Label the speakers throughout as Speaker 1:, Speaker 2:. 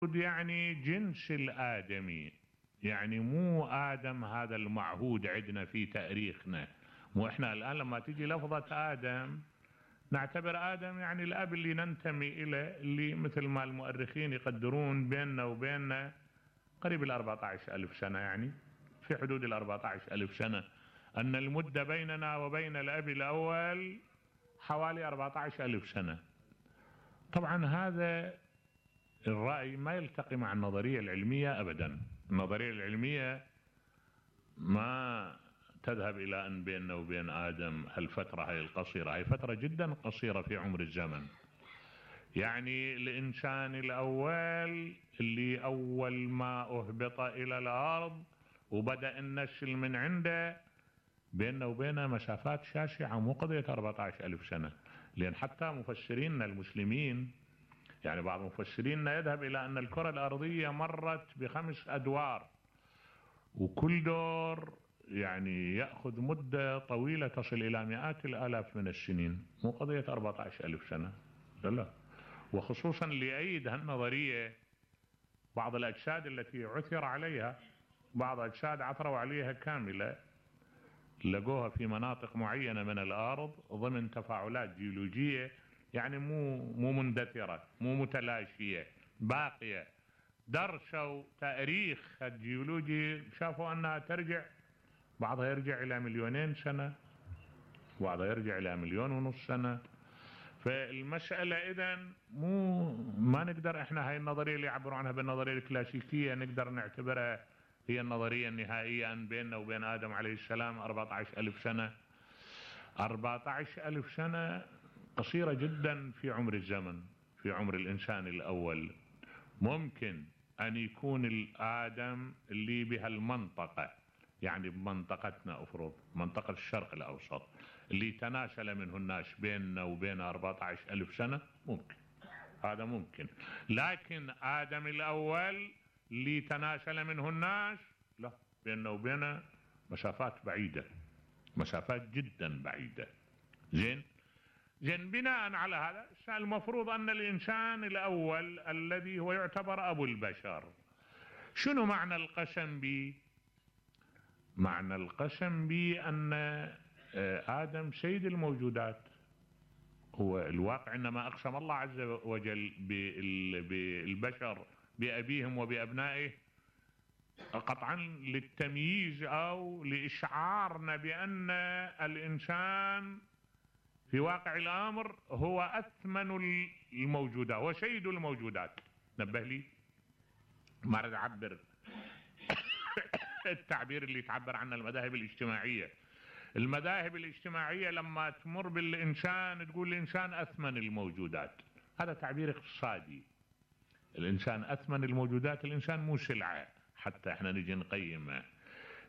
Speaker 1: يعني جنس الآدمي، يعني مو آدم هذا المعهود عندنا في تاريخنا. مو احنا الآن لما تيجي لفظة آدم نعتبر آدم يعني الأب اللي ننتمي إليه، اللي مثل ما المؤرخين يقدرون بيننا وبيننا قريب 14,000 سنة، يعني في حدود 14,000 سنة، أن المدة بيننا وبين الأب الأول حوالي 14,000 سنة. طبعا هذا الرأي ما يلتقي مع النظرية العلمية أبدا. النظرية العلمية ما تذهب إلى أن بيننا وبين آدم هالفترة هاي القصيرة، هاي فترة جدا قصيرة في عمر الزمن. يعني الإنسان الأول اللي أول ما أهبط إلى الأرض وبدأ النسل من عنده بيننا وبينه مسافات شاسعة، مو قضية 14,000 سنة. لأن حتى مفسرين المسلمين، يعني بعض مفسرين يذهب إلى أن الكرة الأرضية مرت ب5 أدوار، وكل دور يعني يأخذ مدة طويلة تصل إلى مئات الآلاف من السنين، مو قضية 14,000 سنة. لا، وخصوصا ليؤيد هالنظرية بعض الأجساد التي عثر عليها، بعض أجساد عثروا عليها كاملة، لقوها في مناطق معينة من الأرض ضمن تفاعلات جيولوجية، يعني مو مندثرة، مو متلاشية، باقية. درسوا تاريخ الجيولوجي، شافوا أنها ترجع، بعضها يرجع إلى 2,000,000 سنة، بعضها يرجع إلى 1,500,000 سنة. فالمسألة إذن ما نقدر احنا هاي النظرية اللي يعبروا عنها بالنظرية الكلاسيكية نقدر نعتبرها هي النظرية النهائية أن بيننا وبين آدم عليه السلام 14,000 سنة. 14,000 سنة قصيرة جدا في عمر الزمن، في عمر الإنسان الأول. ممكن أن يكون الآدم اللي بهالمنطقة، يعني بمنطقتنا أفرض منطقة الشرق الأوسط، اللي تناسل منه الناس بيننا وبين 14,000 سنة، ممكن، هذا ممكن. لكن آدم الأول اللي تناسل منه الناس، لا، بيننا وبينه مسافات بعيدة، مسافات جدا بعيدة. زين بناء على هذا المفروض أن الإنسان الأول الذي هو يعتبر أبو البشر، شنو معنى القسم به؟ معنى القسم به أن آدم سيد الموجودات. هو الواقع إنما أقسم الله عز وجل بالبشر بأبيهم وبأبنائه قطعا للتمييز أو لإشعارنا بأن الإنسان في واقع الأمر هو أثمن الموجودات وسيد الموجودات. نبه لي، ما أريد أعبر التعبير اللي تعبر عنه المذاهب الاجتماعية. المذاهب الاجتماعية لما تمر بالإنسان تقول الإنسان أثمن الموجودات، هذا تعبير اقتصادي. الإنسان أثمن الموجودات، الإنسان مو سلعة حتى احنا نجي نقيمه.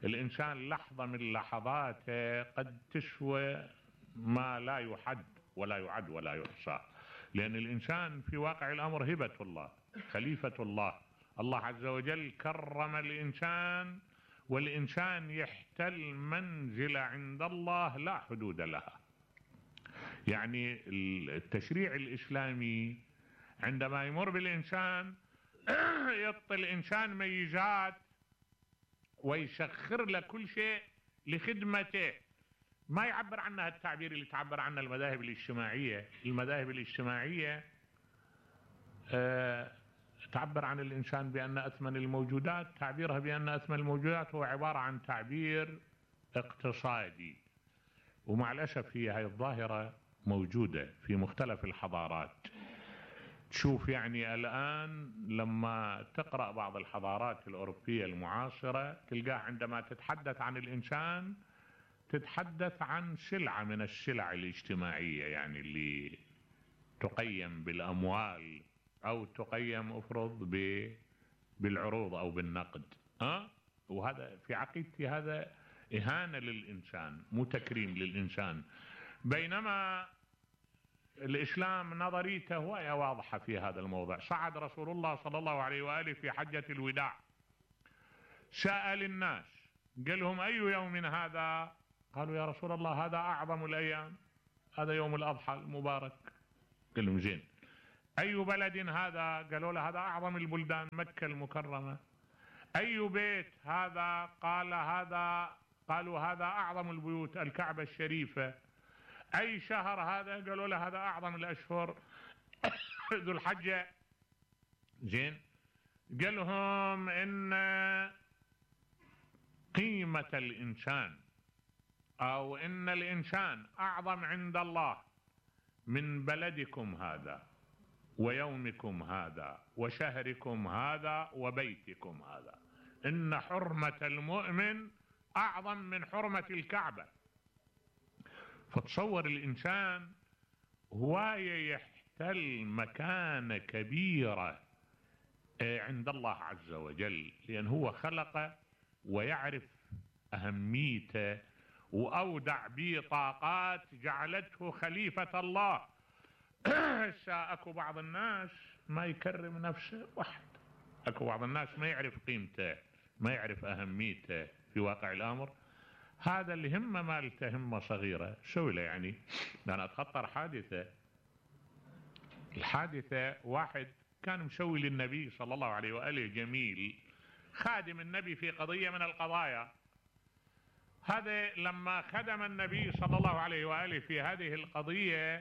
Speaker 1: الإنسان لحظة من لحظاته قد تسوى ما لا يحد ولا يعد ولا يحصى، لأن الإنسان في واقع الأمر هبة الله، خليفة الله. الله عز وجل كرم الإنسان، والإنسان يحتل منزلة عند الله لا حدود لها. يعني التشريع الإسلامي عندما يمر بالإنسان يعطي الإنسان ميزات ويسخر له كل شيء لخدمته. ما يعبر عنها التعبير اللي تعبر عنه المذاهب الاجتماعية. المذاهب الاجتماعية تعبر عن الإنسان بأن أثمن الموجودات، تعبيرها بأن أثمن الموجودات هو عبارة عن تعبير اقتصادي. ومع الأسف هي الظاهرة موجودة في مختلف الحضارات. تشوف يعني الآن لما تقرأ بعض الحضارات الأوروبية المعاصرة تلقاه عندما تتحدث عن الإنسان تتحدث عن سلعة من السلع الاجتماعية، يعني اللي تقيم بالأموال أو تقيم أفرض بالعروض أو بالنقد. وهذا في عقيدتي هذا إهانة للإنسان، مو تكريم للإنسان. بينما الإسلام نظريته وهي واضحة في هذا الموضوع. صعد رسول الله صلى الله عليه وآله في حجة الوداع، سأل الناس قال لهم أي يوم هذا؟ قالوا يا رسول الله هذا أعظم الأيام، هذا يوم الأضحى المبارك. قال لهم زين، أي بلد هذا؟ قالوا له هذا أعظم البلدان، مكة المكرمة. أي بيت هذا؟ قالوا هذا أعظم البيوت، الكعبة الشريفة. أي شهر هذا؟ قالوا له هذا أعظم الأشهر، ذو الحجة. زين، قال لهم إن قيمة الإنسان أو إن الإنسان أعظم عند الله من بلدكم هذا ويومكم هذا وشهركم هذا وبيتكم هذا. إن حرمة المؤمن أعظم من حرمة الكعبة. فتصور الإنسان هواية يحتل مكانة كبيرة عند الله عز وجل، لأن هو خلقه ويعرف أهميته وأودع به طاقات جعلته خليفة الله. اكو بعض الناس ما يكرم نفسه واحد، اكو بعض الناس ما يعرف قيمته، ما يعرف أهميته في واقع الأمر. هذا اللي همه مالته همه صغيرة، سوي له يعني. أنا أتخطر حادثة، الحادثة واحد كان مسوي للنبي صلى الله عليه وآله جميل، خادم النبي في قضية من القضايا. هذا لما خدم النبي صلى الله عليه وآله في هذه القضية